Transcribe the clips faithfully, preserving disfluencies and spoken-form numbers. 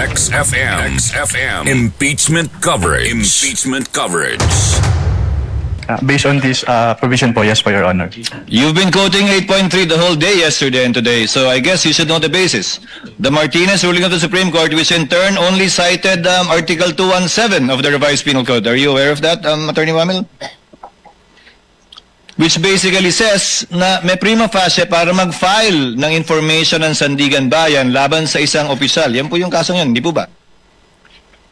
X F M. X F M. Impeachment coverage. Impeachment coverage. Uh, based on this uh, provision po, yes po, Your Honor. You've been quoting eight point three the whole day yesterday and today, so I guess you should know the basis. The Martinez ruling of the Supreme Court, which in turn only cited um, Article two one seven of the Revised Penal Code. Are you aware of that, um, Attorney Wamil? Which basically says na may prima facie para mag-file ng information ang Sandiganbayan laban sa isang opisyal. Yan po yung kaso ngayon, di po ba?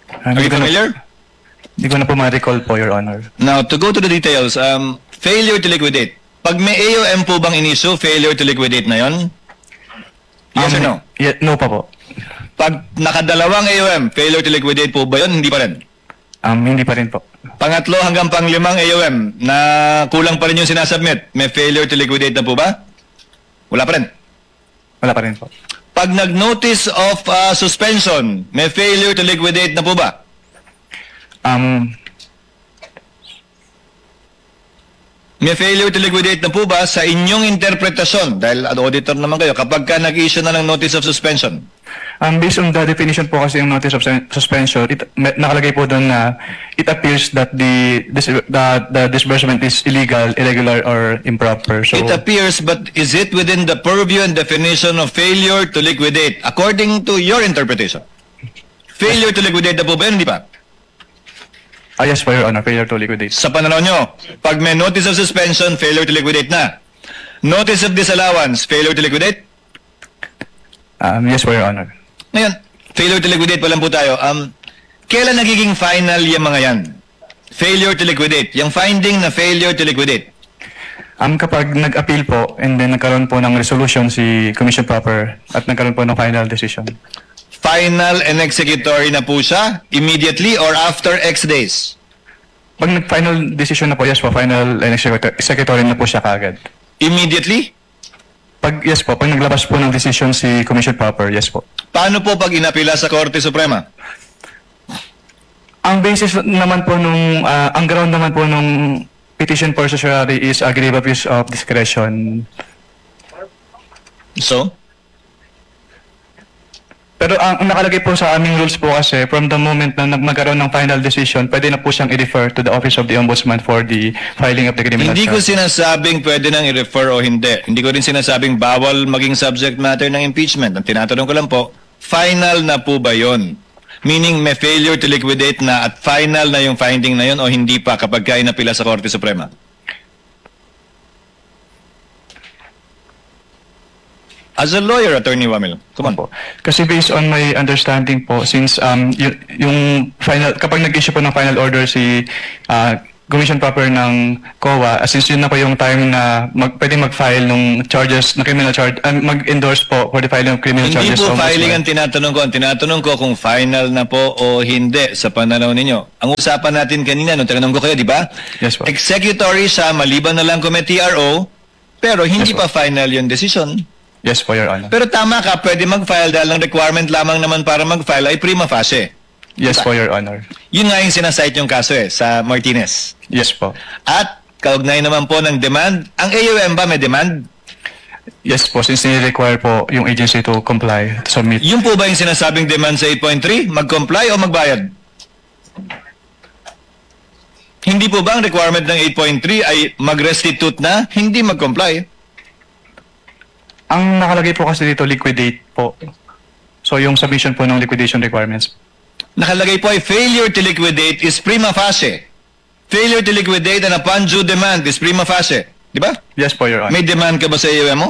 Ah, Are you hindi ko na- familiar? Hindi ko na po ma-recall po, Your Honor. Now, to go to the details, um, failure to liquidate. Pag may A O M po bang in-issue, failure to liquidate na yon? Yes or Um, no? ye- no pa po. Pag nakadalawang A O M, failure to liquidate po ba yon? Hindi pa rin. Um, hindi pa rin po. Pangatlo hanggang panglimang A O M na kulang pa rin yung sinasubmit, may failure to liquidate na po ba? Wala pa rin. Wala pa rin po. Pag nag-notice of uh, suspension, may failure to liquidate na po ba? Um, May failure to liquidate na po ba sa inyong interpretasyon? Dahil auditor naman kayo, kapag ka nag-issue na ng notice of suspension. Um, based on the definition po kasi yung notice of sen- suspension, it, me- nakalagay po doon na it appears that the dis- the, the disbursement is illegal, irregular, or improper. So, It appears, but is it within the purview and definition of failure to liquidate according to your interpretation? Failure to liquidate na po ba yun? Hindi pa. Ah, yes po, Your Honor, failure to liquidate. Sa pananaw nyo, pag may notice of suspension, failure to liquidate na. Notice of disallowance, failure to liquidate? Um, yes po, Your Honor. Ngayon, failure to liquidate pa lang po tayo. Um, kailan nagiging final yung mga yan? Failure to liquidate. Yung finding na failure to liquidate. Um, kapag nag-appeal po and then nagkaroon po ng resolution si Commission Proper at nagkaroon po ng final decision. Final and executory na po siya immediately or after X days? Pag nag-final decision na po, yes po, final and executor- executory na po siya kaagad. Immediately? Pag, yes po, pag naglabas po ng decision si Commission Proper, yes po. Paano po pag inapila sa Korte Suprema? Ang basis naman po nung, ah, ang ground naman po nung petition for certiorari is a grave abuse of discretion. So? Pero ang, ang nakalagay po sa aming rules po kasi, from the moment na nag- magkaroon ng final decision, pwede na po siyang i-refer to the Office of the Ombudsman for the filing of the criminal Hindi ko charge. Sinasabing pwede nang i-refer o hindi. Hindi ko rin sinasabing bawal maging subject matter ng impeachment. Ang tinatanong ko lang po, final na po ba yon? Meaning may failure to liquidate na at final na yung finding na yon o hindi pa kapag ka inapila sa Korte Suprema? As a lawyer, Attorney Wamil, come on. Opo. Kasi based on my understanding po, since um, y- yung final, kapag nag-issue po ng final order si ah, Commission Proper ng COA, ah, since yun na po yung time na mag, pwede mag-file ng charges, na criminal charge, ah, mag-endorse po for the filing of criminal Hindi charges. po sa filing Ombudsman. Ang tinatanong ko. Ang tinatanong ko kung final na po o hindi sa pananaw ninyo. Ang usapan natin kanina, nung tinanong ko kayo, di ba? Yes po. Executory siya, maliban na lang kung may T R O, pero hindi Yes po. pa final yung decision. Yes po, Your Honor. Pero tama ka, pwede mag-file dahil ang requirement lamang naman para mag-file ay prima facie. Yes po, Your Honor. Yun nga yung sinasite yung kaso eh, sa Martinez. Yes po. At kaugnay naman po ng demand, ang A O M ba may demand? Yes po, since ni-require po yung agency to comply, to submit. Yun po ba yung sinasabing demand sa eight point three? Mag-comply o magbayad? Hindi po ba ang requirement ng eight point three ay mag-restitute na, hindi mag-comply? Ang nakalagay po kasi dito, liquidate po. So, yung submission po ng liquidation requirements. Nakalagay po ay failure to liquidate is prima facie. Failure to liquidate and upon due demand is prima facie. Di ba? Yes po, Your Honor. May demand ka ba sa A O M mo?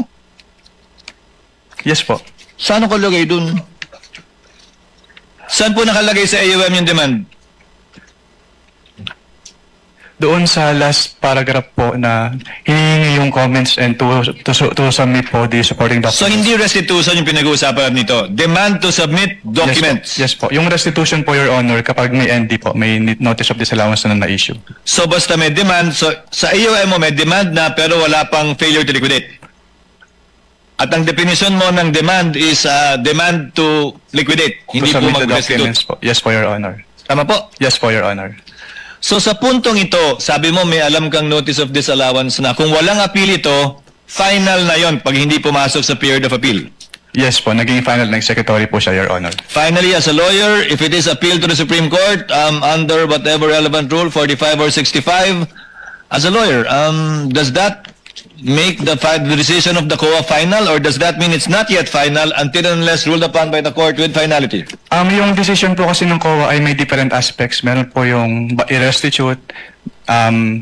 Yes po. Saan nakalagay dun? Saan po nakalagay sa A O M yung demand? Doon sa last paragraph po na hinihingi yung comments and to, to, su- to submit po the supporting documents. So hindi restitution yung pinag-uusapan nito. Demand to submit documents. Yes po. Yes po. Yung restitution po, Your Honor, kapag may N D po, may ni- notice of disallowance na na-issue. So basta may demand, so sa A O M mo may demand na pero wala pang failure to liquidate. At ang definition mo ng demand is ah, demand to liquidate. Hindi To po submit the mag-restitute. documents po. Yes po, Your Honor. Tama po? Yes po, Your Honor. So sa puntong ito, sabi mo may alam kang notice of disallowance na. Kung walang appeal ito, final na yon pag hindi pumasok sa period of appeal. Yes po, naging final na executory po siya, Your Honor. Finally, as a lawyer, if it is appealed to the Supreme Court, um, under whatever relevant rule, forty-five or sixty-five, as a lawyer, um, does that make the fi-, the decision of the COA final, or does that mean it's not yet final until and unless ruled upon by the court with finality? Um, yung decision po kasi ng COA ay may different aspects. Meron po yung ba-, i-restitute, um,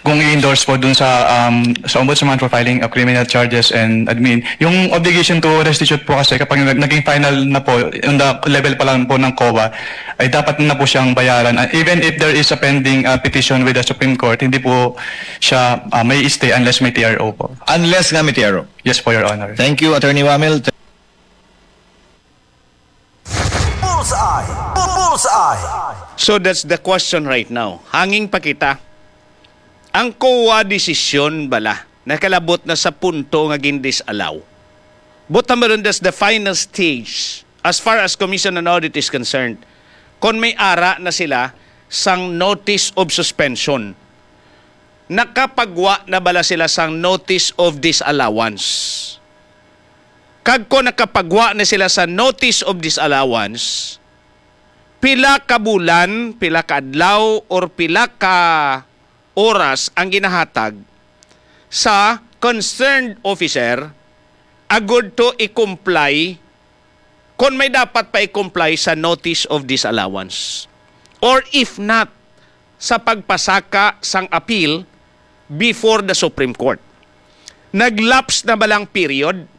kung i-endorse po dun sa, um, sa ombudsman for filing of criminal charges and admin. Yung obligation to restitute po kasi kapag nag-, naging final na po, on the level pa lang po ng COA, ay dapat na po siyang bayaran. Uh, even if there is a pending, uh, petition with the Supreme Court, hindi po siya, uh, may stay unless may T R O po. Unless nga may T R O. Yes po, Your Honor. Thank you, Attorney Wamil. Bullseye! Bullseye! So that's the question right now. Hanging pa kita. Ang COA desisyon bala nakalabot na sa punto nga gin-disallow. But number one, that's the final stage as far as Commission on Audit is concerned. Kon may ara na sila sang notice of suspension, nakapagwa na bala sila sang notice of disallowance? Kag kon nakapagwa na sila sa notice of disallowance, pila ka bulan, pila ka adlaw, or pila ka oras ang ginahatag sa concerned officer agud to i-comply kon may dapat pa i-comply sa notice of disallowance, or if not, sa pagpasaka sang appeal before the Supreme Court. Nag-lapse na ba lang period?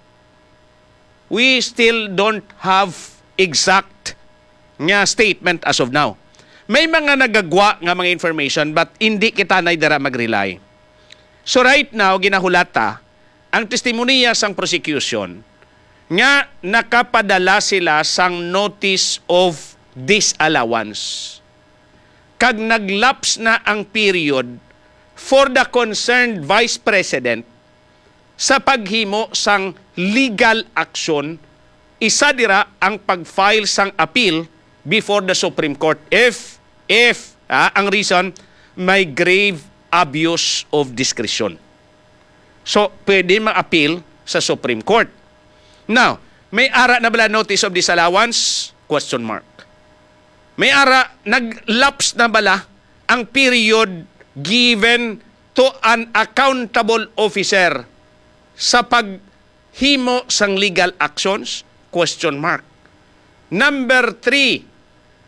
We still don't have exact nga statement as of now. May mga nagagwa nga mga information, but hindi kita na dira mag-rely. So right now, ginahulata ang testimonya sang prosecution nga nakapadala sila sang notice of disallowance, kag nag-lapse na ang period for the concerned vice president sa paghimo sang legal action, isa dira ang pag-file sang appeal before the Supreme Court if, if, ah, ang reason, may grave abuse of discretion. So, pwede ma-appeal sa Supreme Court. Now, may ara na bala notice of disallowance? Question mark. May ara, nag-lapse na bala ang period given to an accountable officer sa paghimo sang legal actions? Question mark. Number three,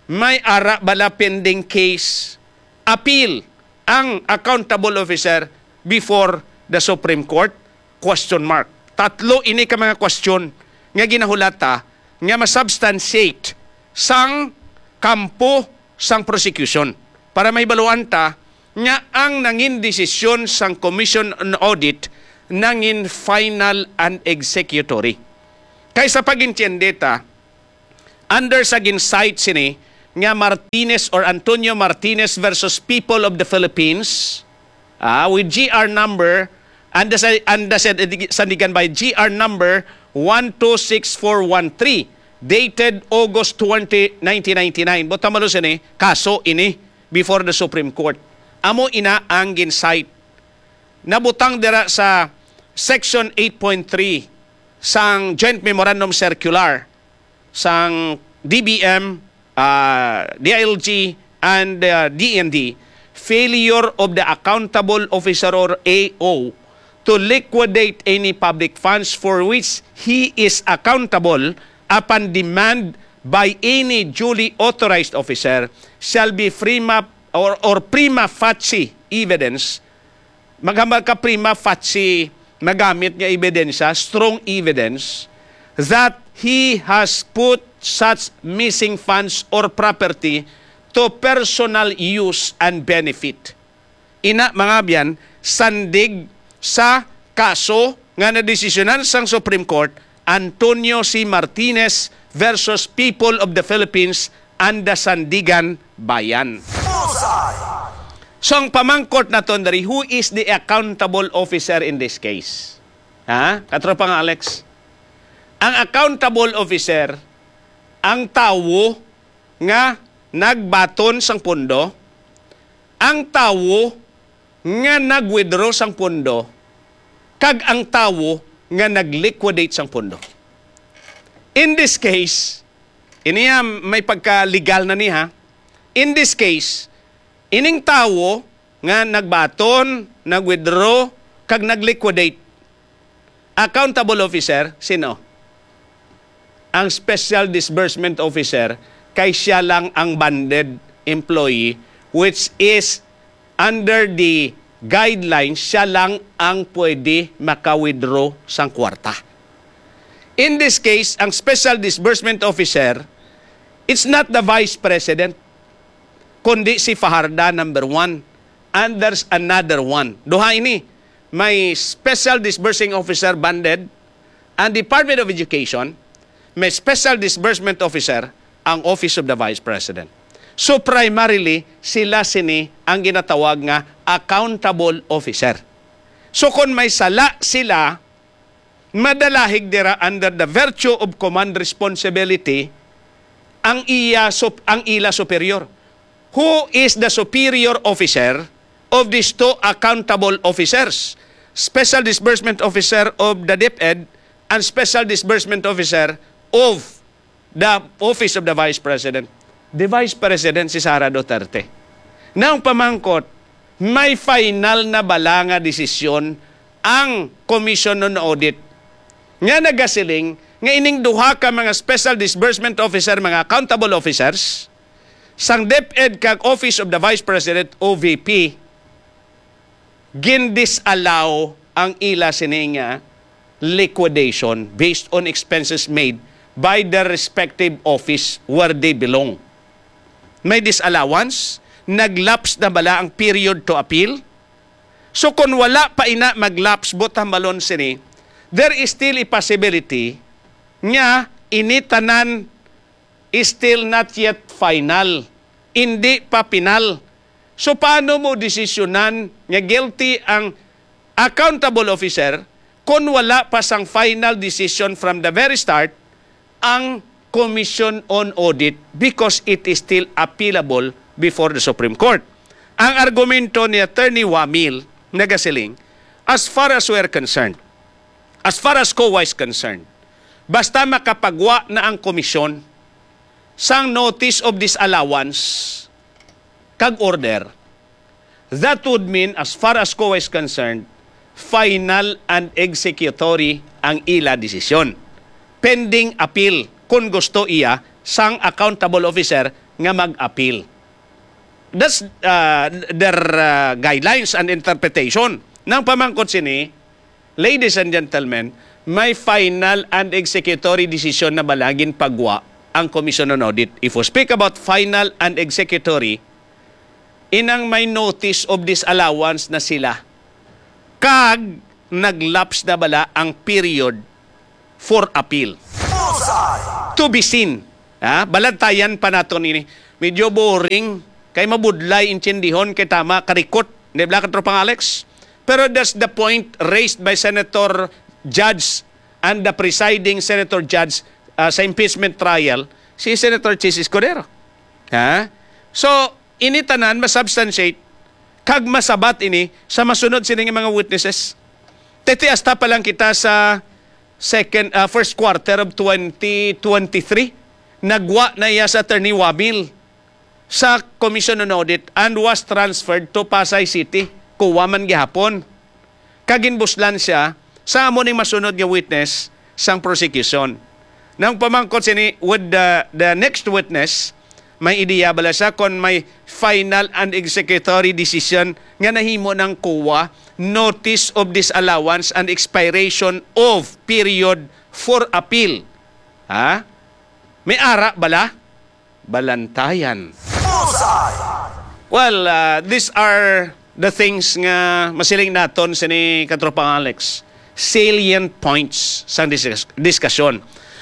may ara bala pending case, appeal ang accountable officer before the Supreme Court? Question mark. Tatlo ini ka mga question nga ginahulata nga masubstantiate sang kampo sang prosecution para mahibaluan ta nga ang nangin desisyon sang Commission on Audit nangin final and executory. Kay sa pag-intiyende ta, under sa gin-cite sini nga Martinez or Antonio Martinez versus People of the Philippines, ah, with G R number, and the, and the Sandigan by G R number one two six four one three, dated August twenty, nineteen ninety-nine. Buot hamalo sini, kaso ini before the Supreme Court. Amo ina ang gin-cite. Nabutang dira sa Section eight point three sang Joint Memorandum Circular sang D B M, ah, D I L G, and, ah, D N D, failure of the accountable officer or A O to liquidate any public funds for which he is accountable upon demand by any duly authorized officer shall be prima or, or prima facie evidence. Maghambal ka prima facie, magamit nga ebidensya, strong evidence, that he has put such missing funds or property to personal use and benefit. Ina, mga abyan, sandig sa kaso nga nadesisyonan sang Supreme Court, Antonio C. Martinez versus People of the Philippines and the Sandigan Bayan. Bullseye! So, ang pamangkot naton diri, who is the accountable officer in this case? Ha? Katropang Alex? Ang accountable officer, ang tawo nga nagbaton sang pondo, ang tawo nga nag-withdraw sang pondo, kag ang tawo nga nag-liquidate sang pondo. In this case, iniya may pagka-legal na niya. In this case, ining tawo nga nagbaton, nag-withdraw, kag nag-liquidate, accountable officer, sino? Ang special disbursement officer, kay siya lang ang banded employee, which is under the guidelines, siya lang ang pwede maka-withdraw sang kwarta. In this case, ang special disbursement officer, it's not the vice president, kundi si Fajarda number one, and there's another one. Duha ini, may special disbursing officer banded, ang Department of Education, may special disbursement officer, ang Office of the Vice President. So primarily, sila sini ang ginatawag nga accountable officer. So kung may sala sila, madalahig dira under the virtue of command responsibility ang iya sup-, ang ila superior. Who is the superior officer of these two accountable officers? Special Disbursement Officer of the DepEd and Special Disbursement Officer of the Office of the Vice President. The Vice President si Sara Duterte. Nang pamangkot, may final na bala nga desisyon ang Commission on Audit nga nagasiling nga ining duha ka mga special disbursement officer, mga accountable officers, sang DepEd kag Office of the Vice President, O V P, gin-disallow ang ila sini nga liquidation based on expenses made by their respective office where they belong. May disallowance, naglaps na bala ang period to appeal? So kung wala pa ina maglapse, buot hambalon sini, there is still a possibility nga ini tanan is still not yet final. Hindi pa final. So, paano mo desisyonan nga guilty ang accountable officer kung wala pa sang final decision from the very start ang Commission on Audit, because it is still appealable before the Supreme Court? Ang argumento ni Attorney Wamil nagasiling, as far as we're concerned, as far as COA is concerned, basta makapagwa na ang komisyon sang notice of disallowance kag order, that would mean, as far as COA is concerned, final and executory ang ila desisyon, pending appeal, kung gusto iya, sang accountable officer nga mag-appeal. That's, uh, their, uh, guidelines and interpretation. Nang pamangkot sini, ladies and gentlemen, may final and executory decision na bala ginpagwa ang Commission on Audit? If we speak about final and executory, inang may notice of disallowance na sila, kag naglaps na bala ang period for appeal. To be seen. Ha? Balantayan pa naton ini. Medyo boring, kay mabudlay intindihon, kay tama, karikot, di ba, Katropang Alex? Pero that's the point raised by Senator Judge and the presiding Senator Judge, uh, sa impeachment trial, si Senator Chiz Escudero. Ha? So, ini tanan masubstantiate kag masabat ini sa masunod sini nga mga witnesses. Tete, hasta pa lang kita sa second, uh, first quarter of twenty twenty-three, nagwa na iya sa Attorney Wamil sa Commission on Audit and was transferred to Pasay City, COA man gihapon. Kag ginbuslan siya sa amo ning masunod nga witness sang prosecution. Nang pamangkot sini with the, the next witness, may ideya bala siya kon may final and executory decision nga nahimo ng COA, notice of disallowance and expiration of period for appeal? Ha? May ara bala? Balantayan. Bullseye! Well, uh, these are the things nga masiling naton sini, Katropang Alex. Salient points sang diskus-, diskusyon.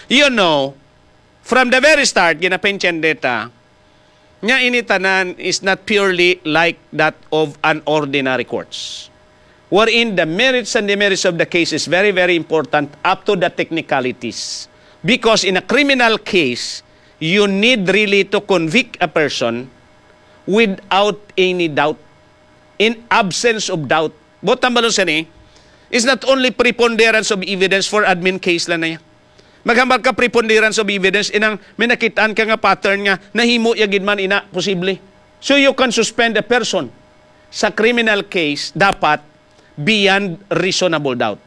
You know, from the very start, ginapentyendeta nga ini tanan is not purely like that of an ordinary courts, wherein the merits and demerits of the case is very, very important up to the technicalities. Because in a criminal case, you need really to convict a person without any doubt, in absence of doubt. Buot hambalon sini, It's not only preponderance of evidence for admin case lang na yan. Maghambal ka preponderance of evidence, inang may nakitaan ka nga pattern nga nahimo ya gid man ina, posible. So you can suspend a person sa criminal case, dapat beyond reasonable doubt.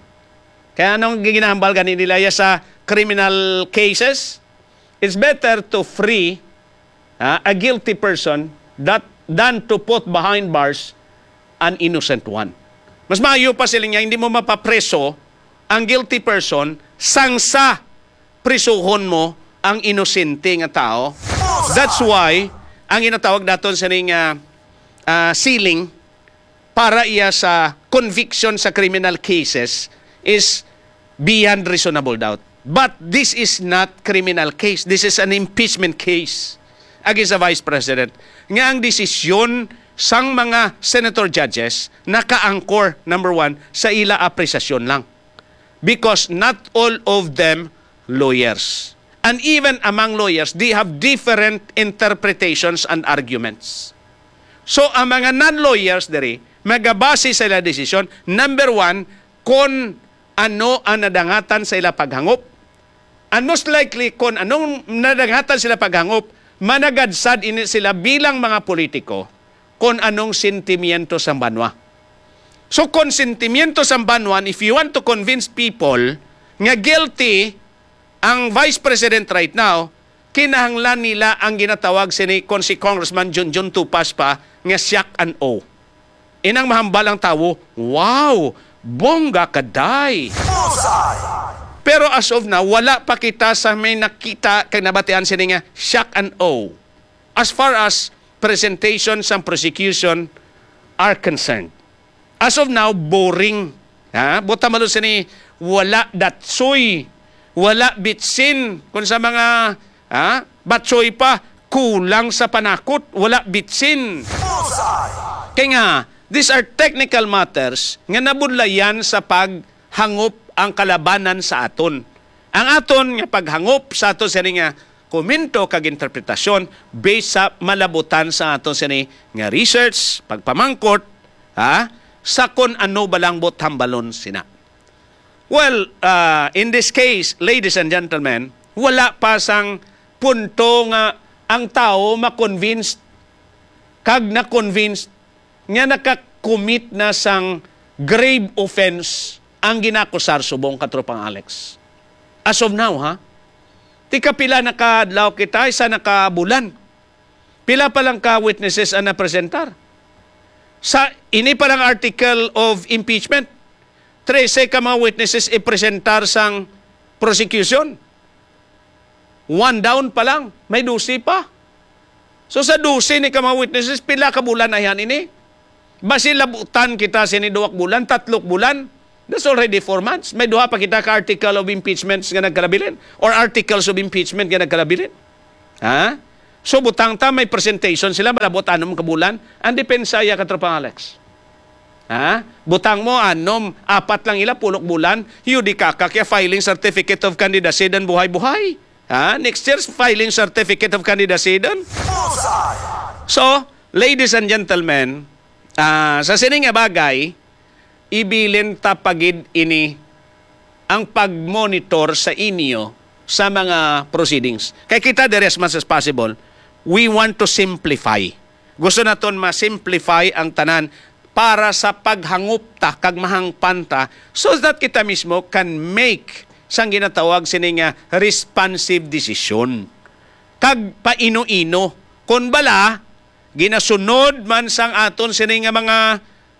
Kaya anong ginahambal gani nila ya sa criminal cases? It's better to free, ha, a guilty person that, than to put behind bars an innocent one. Mas maayo pa sila niya, hindi mo mapapreso ang guilty person sang sa prisuhon mo ang inosente nga tao. That's why ang ginatawag naton sining, ah, ah, ceiling para iya sa conviction sa criminal cases is beyond reasonable doubt. But this is not criminal case. This is an impeachment case against the Vice President. Nga ang desisyon sang mga senator judges naka-anchor, number one, sa ila apresasyon lang. Because not all of them lawyers. And even among lawyers, they have different interpretations and arguments. So, ang mga non-lawyers diri, magabase sa ila desisyon, number one, kon ano ang nadangatan sa ila paghangop. And most likely, kon anong nadangatan sila paghangop, managadsad ini sila bilang mga politiko kon anong sentimiento sang banwa. So, kon sentimiento sang banwa, if you want to convince people nga guilty ang Vice President right now, kinahanglan nila ang ginatawag sini kon si Congressman Junjun Tupas pa nga shock and awe. Inang mahambal ang tawo, "Wow, bongga ka, day." Bullseye! Pero as of now, wala pa kita sa may nakita kag nabatian sini nga shock and awe as far as presentation sang prosecution are concerned. As of now, boring. Ha? Buta malo sini, wala datsoy, wala bitsin. Kung sa mga, ha? Batsoy pa, kulang sa panakot, wala bitsin. Bullseye! Kay nga, these are technical matters nga nabudlayan sa paghangop ang kalabanan sa aton. Ang aton nga paghangop sa aton sini nga komento kag interpretasyon based sa malabutan sa aton sini nga research, pagpamangkot, ha, sa kon ano ba lang buot hambalon sina. Well, uh, in this case, ladies and gentlemen, wala pa sang punto nga ang tawo ma-convinced kag na-convinced nga naka-commit na sang grave offense ang ginakusar subong, Katropang Alex. As of now, ha? Tika pila na ka adlaw kita, isa na ka bulan. Pila pa lang ka witnesses ang napresentar? Sa ini pa lang article of impeachment, trese ka mga witnesses ipresentar sang prosecution. One down pa lang, may dose pa. So, sa dose ni ka mga witnesses, pila ka bulan na yan ini? Basi labutan kita sini duwak bulan, tatlok bulan. That's already four months. May duha pa kita ka article of impeachments nga nagkalabilin or articles of impeachment nga nagkalabilin. Ha? So, butang ta, may presentation sila, malabot anom ka bulan. Ang depensa ya, Katropang Alex. Ha? Butang mo, anom, apat lang ila, pulok bulan, you di kakak ya filing certificate of candidacy dan buhay-buhay. Ha? Next year's filing certificate of candidacy dan. Bullseye! So, ladies and gentlemen, ah, sa sini nga bagay, ibilin ta pa gid ini ang pag-monitor sa inyo sa mga proceedings. Kay kita diri, as much as possible, we want to simplify. Gusto naton ma-simplify ang tanan para sa paghangop ta kag mahangpan ta, so that kita mismo can make sang ginatawag sini nga responsive decision. Kag paino-ino, kon bala, ginasunod man sang aton sini nga mga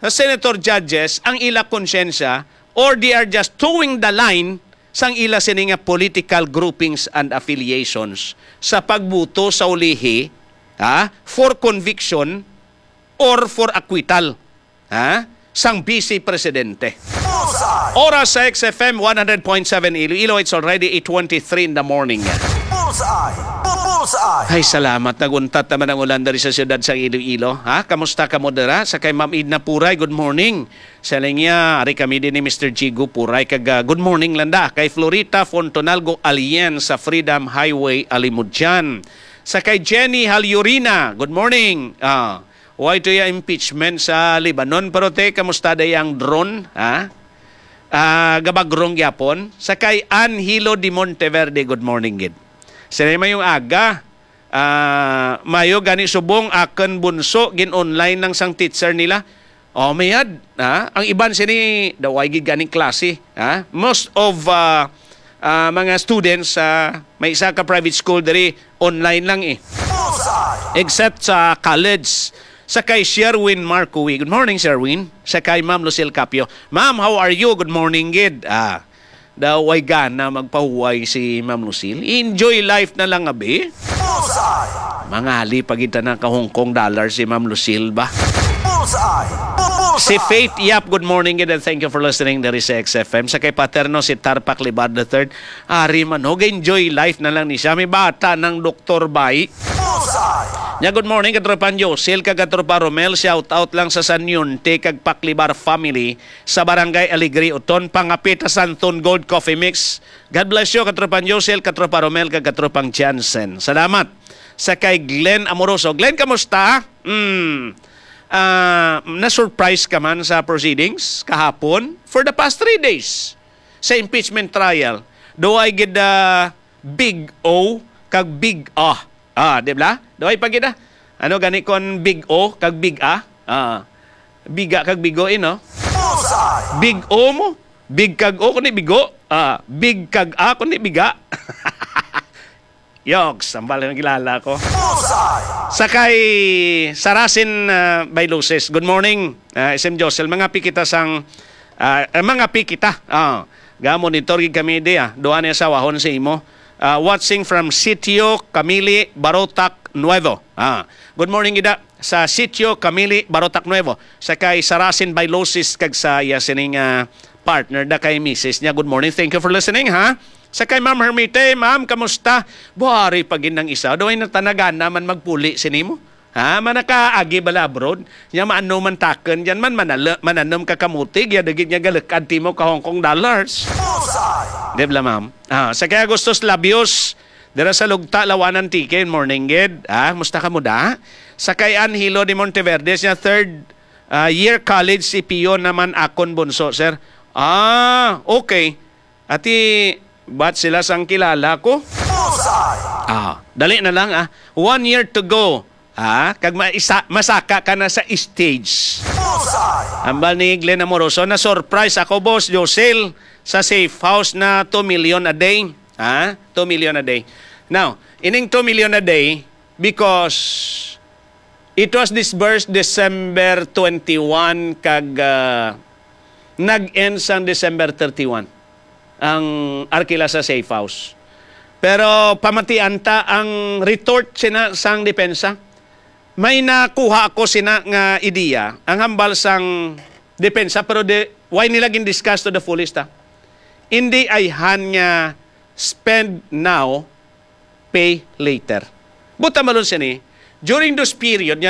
senator judges ang ila konsyensya, or they are just towing the line sang ila sini nga political groupings and affiliations sa pagbuto sa ulihi, ha, for conviction or for acquittal, ha, sang Vice Presidente. Bullseye! Oras sa X F M one hundred point seven Iloilo, it's already eight twenty-three in the morning. Bullseye! Bu-, Bullseye! Ay, salamat. Naguntat naman ang ulan diri sa siyudad sang Iloilo. Ha? Kamusta kamo dira? Sa kay Ma'am Edna Puray, good morning. Sa linya, ari kami din ni Mister Jigo Puray. Kag, ah, good morning, landa. Kay Florita Fontonalgo Alien sa Freedom Highway, Alimodian. Sa kay Jenny Halyurina, good morning. Ah, why to ya impeachment sa Lebanon? Pero te, kamusta da yang drone? Ha? Ah, gabagrong gyapon. Sa kay Anhilo de Monteverde, good morning gid. Sila may yung aga. Ah, mayo gani subong akon bunso, gin-online lang sang teacher nila. Oh, mayad, ha? Ang iban sini daw ay gid ganing klase, ha? Most of ah, ah, mga students sa may isa ka private school diri, online lang eh. Except sa college. Sa kay Sherwin Marcoy. Good morning, Sherwin. Sa kay Ma'am Lucille Capio. Ma'am, how are you? Good morning, gid. Ah, daw way gana magpahuway si Ma'am Lucille. Enjoy life na lang, abi. Mangali pa gid na ka Hong Kong dollar si Ma'am Lucille ba? Si Faith Yap, good morning, gid, and thank you for listening diri sa X F M. Sa kay Paterno, si Tarpak Libar the third. Ari man, ho, enjoy life na lang ni siya. May bata ng Doktor Bay. Nya, good morning, Katropan Josel, kag Katropa Romel. Shout out lang sa Sanyonte kag Paklibar family sa Barangay Alegre, Uton, pangapit sa Santon Gold Coffee Mix. God bless you, Katropan Josel, Katropa Romel, kag Katropang Jansen. Salamat. Sa kay Glenn Amoroso. Glenn, kamusta? Hmm. Ah, na-surprise ka man sa proceedings kahapon? For the past three days, sa impeachment trial, do I get the big O kag big A? Ah, di ba? Do I pa gid, ah? Ano gani kon big O kag big A? Ah, biga kag bigo, eh, no? Big O mo, big kag O, kundi bigo. Ah, big kag A, kundi biga. Yogs, ang bala ng kilala ko. Sa kay Sarasin, ah, Bailuses. Good morning, ah, S M Josel. Mga pikita sang, ah, eh, mga pikita. Ah, ga monitor gid kami di, ah. Duha ni asawahon sa imo. Ah, watching from Sitio Camili, Barotac Nuevo. Ah, good morning gid, ah, sa Sitio Camili, Barotac Nuevo. Sa kay Sarasin Bailuses kag sa iya sining, ah, partner da kay misis niya. Good morning. Thank you for listening, ha? Sa kay Ma'am Hermite, ma'am, kamusta? Buhari pa gid nang isa. Daw ay natanagana man magpuli sini mo. Ha? Manakaagi bala abroad. Nya maano man takon diyan man, manala-, mananom ka kamuti, ya dagit niya galakad timo ka Hong Kong dollars. Di bala, ma'am? Ah, sa kay Agustus Labios, dira sa Lugta, Lawanan, Antique, morning gid. Ah, musta ka mo da? Sa kay Anhilo de Monteverde, siya third, ah, year college si Pio naman akon bunso, sir. Ah, okay. Ati, bat sila sang kilala ko? Ah, dali na lang, ah. One year to go. Ah, kag maisa, masaka ka na sa stage. Ambal ni Glenn Amoroso, na-surprise ako, Boss Josel, sa safe house na two million a day. Ha? Two million a day. Now, ining two million a day, because it was disbursed December twenty-one kag, ah, nag-end sang December thirty-one ang arkila sa safe house. Pero pamatian ta ang retort sina sang depensa. May nakuha ako sina nga ideya, ang hambal sang depensa, pero di, why nila gin-discuss to the fullest, ha? Hindi ayhan nga spend now, pay later. Buta malon sini, during those period nga